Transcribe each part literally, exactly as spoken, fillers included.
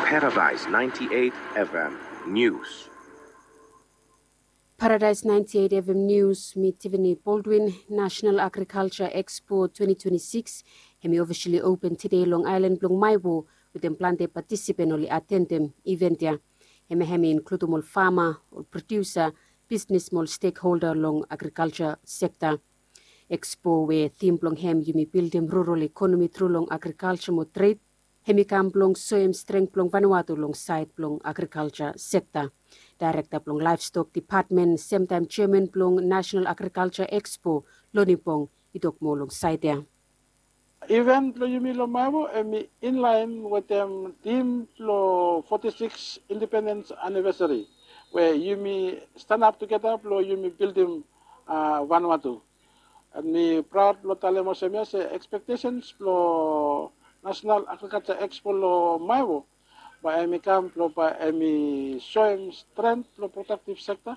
Paradise ninety-eight F M News. Paradise ninety-eight F M News, mi Tiffany Baldwin. National Agriculture Expo twenty twenty-six hemi officially open tede long aelan blong Maewo, wetem plante patisipen oli atendem event ya. Hemia hemi inkludum ol fama, ol produsa, bisnis mo ol stekholda long agrikalja sekta. Expo we tim blong hem yumi bildim rural ekonomi tru long agrikalja mo tred, hemi kam blong soem streng blong Vanuatu long saed blong agrikalja sekta. Daerekta blong Laevstok Depatmen, semtaem jeaman blong Nasenal Agrikalja Expo, Loni Bong, i tok moa long saed ya. Event blong yumi long Maewo hemi inlaen wetem tim blong foti sikis indipendens anivesari, we yumi stanap tugeta blong yumi bildim Vanuatu. An mi praod blong talem olsem ya se ekspektesens blong Nasenal Agrikalja Expo long Maewo bae hemi kam blong bae hemi soem stren blong prodaktiv sekta,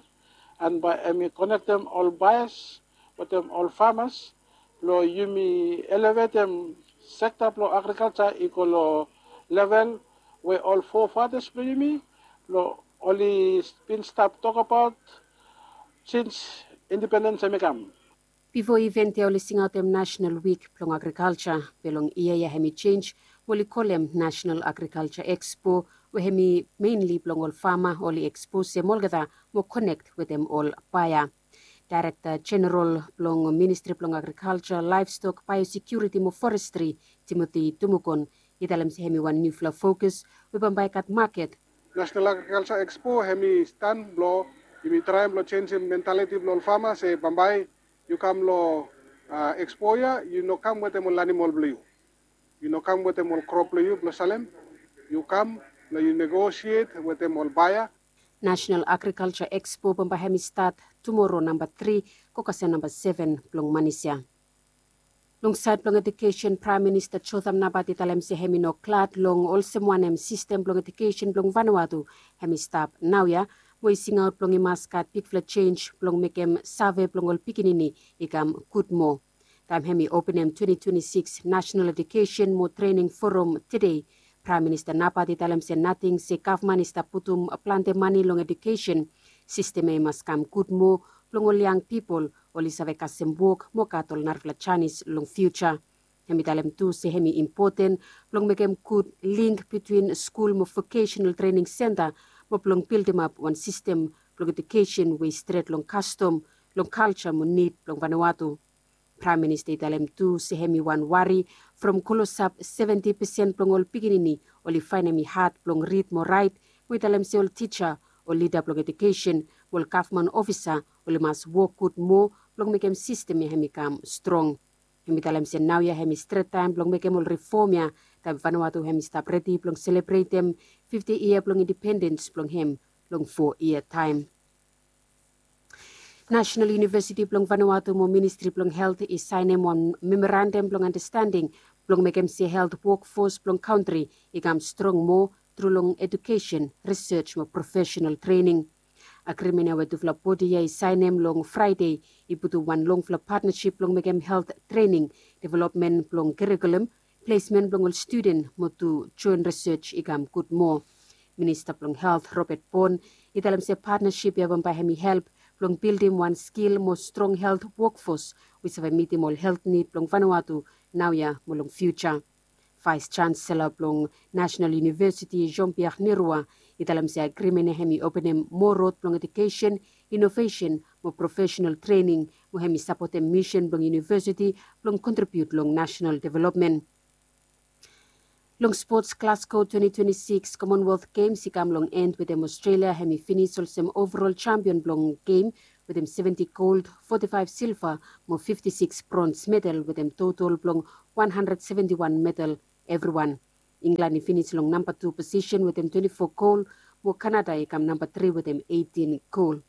an bae hemi konektem ol baeas wetem ol famas blong yumi elevetem sekta blong agrikalja i go long level we ol fofatas blong yumi blong oli bin stap tokbaot sins indipendens hemi kam. Bifo iven ya oli singaotem Nasenal Wik blong Agrikalja, be long yia ya hemi jenj mo oli kolem Nasenal Agrikalja Ekspo, we hemi menli blong ol fama oli eksposem olgeta mo konek wetem ol baea. Daerekta Jeneral blong Ministri blong Agrikalja, Laevstok, Baeosekiuriti mo Forestri, Timoti Tumukon, i talem se hemi wan niufala fokus we bambae i gat maket. Nasenal Agrikalja Ekspo hemi stan blong yumi traem blong jenjem mentaliti blong ol fama se bambae yu kam long ekspo ya yu no kam wetem ol animal blong yu. Yu no kam wetem ol krop blong yu blong salem. Yu kam blong yu negosiet wetem ol baea. Nasenal Agrikalja Ekspo bambae hemi stat tumoro namba tri go kasem namba seven blong manis ya. Long saed blong edukesen, Praem Minista Jotham Napat i talem se hemi no glad long olsem wanem sistem blong edukesen blong Vanuatu hemi stap naoia, mo i singaot blong i mas gat bigfala jenj blong mekem save blong ol pikinini i kam gud moa. Taem hemi openem twenty twenty-six Nasenal Edukesen mo Trening Foram tede, Praem Minista Napat i talem se nating se gavman i stap putum plante mane long edukesen. Sistem ya i mas kam gud moa blong ol yang pipol oli save kasem wok mo gat ol narafala janis long fiuja. Hemi talem tu se hemi impoten blong mekem gud link bitwin skul mo vokesenal trening senta, mo blong bildimap wan sistem blong edukesen we i stret long kastom, long kalja mo nid blong Vanuatu. Praem Minista i talem tu se hemi wan wari from klosap seventi pesen blong ol pikinini oli faenem i had blong rid mo raet, mo i talem se ol tija, ol lida blong edukesen mo ol gavman ofisa oli mas wok gud moa blong mekem sistem ya hemi kam strong. Hemi talem se naoia hemi stret taem blong mekem ol rifom ya, taem Vanuatu hemi stap redi blong selebretem fifti yia blong indipendens blong hem long fo yia taem. Nasenal Univesiti blong Vanuatu mo Ministri blong Helt i saenem wan memorandam blong andastanding blong mekem se helt wokfos blong kantri i kam strong moa tru long edukesen, risej mo profesenal trening. Agrimen ya we tufala bodi ya i saenem long Fraede i putum wan longfala patnasip blong mekem helt trening, developmen blong kurikulum, plesmen blong ol studen mo tu joen risej i kam gud moa. Minista blong Helt, Robert Borne, i talem se patnasip ya bambae hemi help blong bildim wan skil mo strong helt wokfos we i save mitim ol helt nid blong Vanuatu naoia mo long fiuja. Vaes Jansela blong Nasenal Univesiti, Jean-Pierre Nerua, i talem se agrimen ya hemi openem moa rod blong edukesen, inovesen mo profesenal trening, mo hemi sapotem misen blong univesiti blong kontribiut long nasenal developmen. Long spots, Glasgow twenty twenty-six Commonwealth Games i kam long en wetem Australia hemi finis olsem overall jampion blong gem wetem seventi gold, foti faef silva mo fifti sikis brons medal wetem total blong wan handred seventi wan medal evriwan. Inglan i finis long namba tu posisen wetem twenti fo gol, mo Kanada i kam namba tri wetem eitin gol.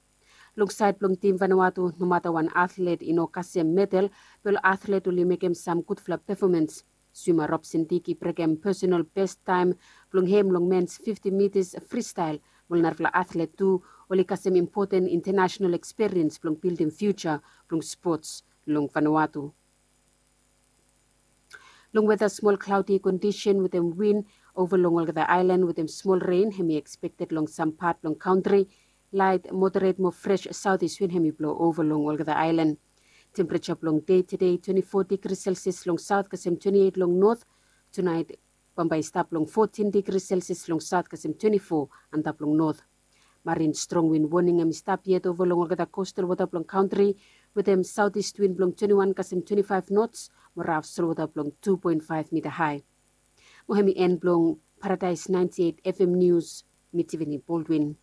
Long saed blong tim Vanuatu, nomata wan atlet i no kasem medal, be ol atlet oli mekem sam gudfala pefomans. Swima Robson Dick i brekem pesonal bes taem blong hem long mens fifti mitas fristael, mo ol narafala atlet tu oli kasem impoten intanasenal ekspiriens blong bildim fiuja blong spots long Vanuatu. Long weta, smol klaodi kondisen wetem win Ova long olgeta aelan wetem smol ren hem i ekspekted long sam pat blong kantri. Laet moderet mo fres saotis win hem i blo ova long olgeta aelan. Tempereja blong dei tede twenti fo digri selsias long saot kasem twenti eit long not. Tunaet bambae i stap long fotin digri selsias long saot kasem twenti fo antap long not. Marin strong win woning hem i stap yet ova long olgeta kostal wota blong kantri wetem saotis win blong twenti wan kasem twenti faef nots mo raf solwota blong tu poen faef mita hae. Mo hem i en blong Paradaes naenti eit FM nius. Mi Tivini Baldwin.